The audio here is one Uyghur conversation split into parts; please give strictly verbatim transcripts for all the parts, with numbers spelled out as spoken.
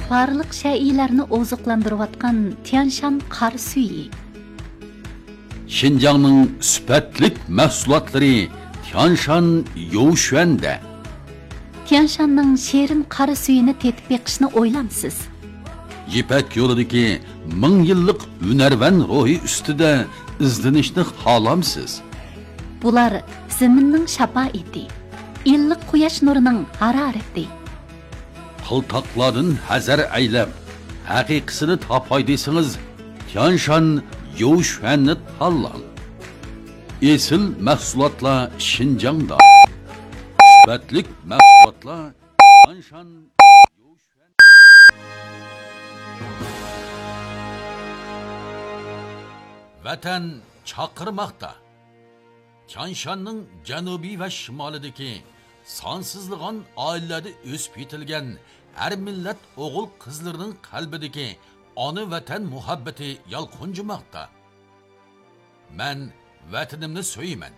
بارلىق شەيئىلەرنى ئوزۇقلاندۇرۇۋاتقان تيانشان قارا سۈيى. شىنجاڭنىڭ سۈپەتلىك مەھسۇلاتلىرى تيانشان يوۋشۈەندە. تيانشاننىڭ شېرىن قارا سۈيىنى تېتىپ بېقىشنى ئويلامسىز؟ يىپەك يولىدىكى مىڭ يىللىق ھۈنەرۋەن روھى ئۈستىدە ئىزدىنىشنى خالامسىز؟ بۇلار زېمىننىڭ شاپائىتى، ئىللىق قۇياش نۇرىنىڭ ھارارىتى. قىلتاقلاردىن ھەزەر ئەيلەپ، ھەقىقىسىنى تاپاي دېسىڭىز، تيانشان يوۋشۈەننى تاللاڭ. ئېسىل مەھسۇلاتلار شىنجاڭدا. سۈپەتلىك مەھسۇلاتلار تيانشان يوۋشۈەن. ۋەتەن چاقىرماقتا. تيانشاننىڭ جەنۇبى ۋە شىمالىدىكى سانسىزلىغان ئائىلىلەردە ئۆسۈپ يېتىلگەن ھەر مىللەت ئوغۇل-قىزلىرىنىڭ قەلبىدىكى ئانا ۋەتەن مۇھەببىتى يالقۇنجىماقتا. مەن ۋەتىنىمنى سۆيىمەن.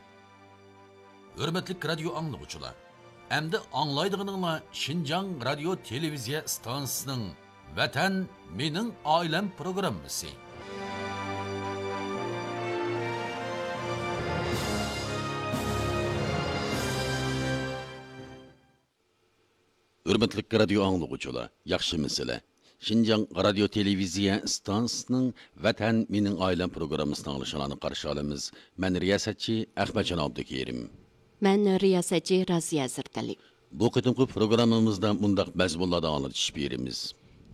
ھۆرمەتلىك رادىيو ئاڭلىغۇچىلار، ئەمدى ئاڭلايدىغىنىڭلار شىنجاڭ رادىيو تېلېۋىزىيە ئىستانسىسىنىڭ ۋەتەن مېنىڭ ئائىلەم پروگراممىسى. ھۆرمەتلىك رادىيو ئاڭلىغۇچىلار، ياخشىمۇسىلەر؟ شىنجاڭ رادىيو تېلېۋىزىيە ئىستانسىسىنىڭ ۋەتەن مېنىڭ ئائىلەم پروگراممىسىنى ئاڭلىشىڭلارنى قارشى ئالىمىز. مەن رىياسەتچى ئەخمەتجان ئابدۇكېرىم. مەن رىياسەتچى رازىيە ھەزرىتەلى. بۇ قېتىمقى پروگراممىمىزدا مۇنداق مەزمۇنلاردا ئاڭلىتىش بېرىمىز.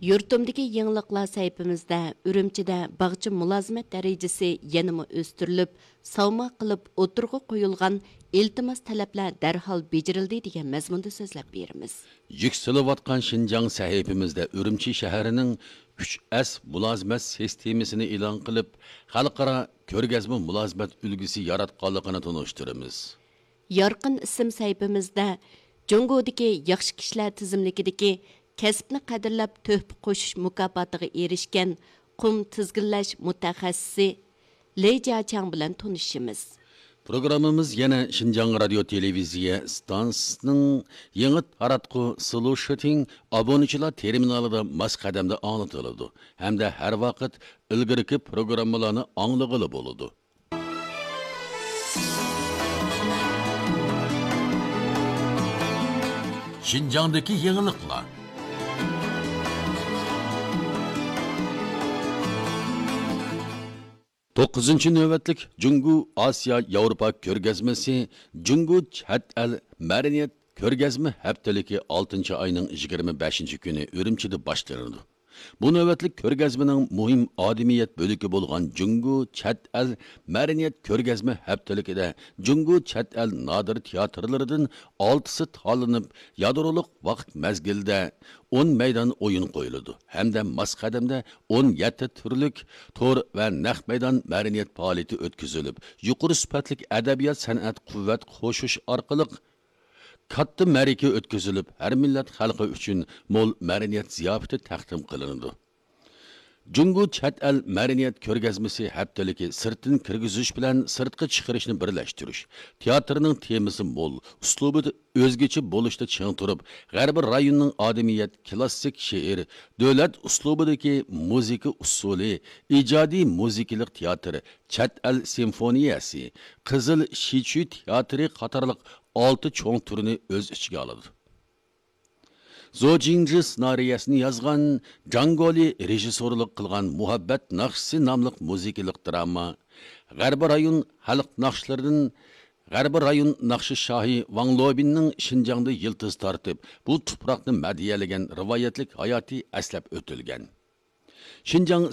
يۇرتۇمدىكى يېڭىلىقلار سەھىپىمىزدە ئۈرۈمچىدە باغچە مۇلازىمەت دەرىجىسى يەنىمۇ ئۆستۈرۈلۈپ، ساۋماق قىلىپ ئوتتۇرىغا قويۇلغان ئىلتىماس تەلەپلەر دەرھال بېجىرىلدى دېگەن مەزمۇندا سۆزلەپ بېرىمىز. يۈكسىلىۋاتقان شىنجاڭ سەھىپىمىزدە ئۈرۈمچى شەھىرىنىڭ ئۈچ ئەس مۇلازىمەت سىستېمىسىنى ئېلان قىلىپ، خەلقئارا كۆرگەزمە مۇلازىمەت ئۈلگىسى ياراتقانلىقىنى تونۇشتۇرىمىز. يارقىن ئىسىم سەھىپىمىزدە جۇڭگودىكى ياخشى كىشىلەر تىزىملىكىدىكى كەسىپنى قەدىرلەپ تۆھپە قوشۇش مۇكاپاتىغا ئېرىشكەن قۇم تىزگىنلەش مۇتەخەسسىسى لېي جياچياڭ بىلەن تونۇشىمىز. پروگراممىمىز يەنە شىنجاڭ رادىيو تېلېۋىزىيە ئىستانسىسىنىڭ يېڭى تاراتقۇ سلۇشىتىڭ ئابۇنىچىلار تېرمىنالىدا ماس قەدەمدە ئاڭلىتىلىدۇ ھەمدە ھەر ۋاقىت ئىلگىرىكى پروگراممىلارنى ئاڭلىغىلى بولىدۇ. شىنجاڭدىكى يېڭىلىقلار. توققۇزىنچى نۆۋەتلىك جۇڭگو ئاسىيا ياۋروپا كۆرگەزمىسى جۇڭگو چەت ئەل مەدەنىيەت كۆرگەزمە ھەپتىلىكى ئالتىنچى ئاينىڭ يىگىرمە بەشىنچى كۈنى ئۈرۈمچىدە باشلىنىدۇ. بۇ نۆۋەتلىك كۆرگەزمىنىڭ مۇھىم ئادىمىيەت بۆلىكى بولغان جۇڭگو چەت ئەل مەدەنىيەت كۆرگەزمە ھەپتىلىكىدە جۇڭگو چەت ئەل نادىر تىياتىرلىرىدىن ئالتىسى تاللىنىپ، يادرولۇق ۋاقىت مەزگىلىدە ئون مەيدان ئويۇن قويۇلىدۇ ھەمدە ماس قەدەمدە ئون يەتتە تۈرلۈك تور ۋە نەق مەيدان مەدەنىيەت پائالىيىتى ئۆتكۈزۈلۈپ، يۇقىرى سۈپەتلىك ئەدەبىيات سەنئەت قۇۋۋەت قوشۇش ئارقىلىق، كاتتا مەرىكە ئۆتكۈزۈلۈپ، ھەر مىللەت خەلقى ئۈچۈن مول مەدەنىيەت زىياپىتى تەقدىم قىلىنىدۇ. جۇڭگو چەت ئەل مەدەنىيەت كۆرگەزمىسى ھەپتىلىكى سىرتتىن كىرگۈزۈش بىلەن سىرتقا چىقىرىشنى بىرلەشتۈرۈش، تىياتىرنىڭ تېمىسى مول، ئۇسلۇبىدا ئۆزگىچە بولۇشتا چىڭ تۇرۇپ، غەربىي رايوننىڭ ئادىمىيەت، كلاسسىك شېئىر، دۆلەت ئۇسلۇبىدىكى مۇزىكا ئۇسسۇلى، ئىجادىي مۇزىكىلىق تىياتىر، چەت ئەل سىمفونىيەسى، قىزىل شىچۈي تىياتىرى قاتارلىق ئالتە چوڭ تۈرنى ئۆز ئىچىگە ئالىدۇ. زو جىڭجى سېنارىيەسىنى يازغان، جاڭ گولى رېژىسسورلۇق قىلغان مۇھەببەت ناخشىسى ناملىق مۇزىكىلىق دراما، غەربىي رايون خەلق ناخشىلىرىدىن غەربىي رايون ناخشا شاھى ۋاڭ لوبىننىڭ شىنجاڭدا يىلتىز تارتىپ، بۇ تۇپراقنى مەدھىيەلىگەن رىۋايەتلىك ھاياتى ئەسلەپ ئۆتۈلگەن. شىنجاڭ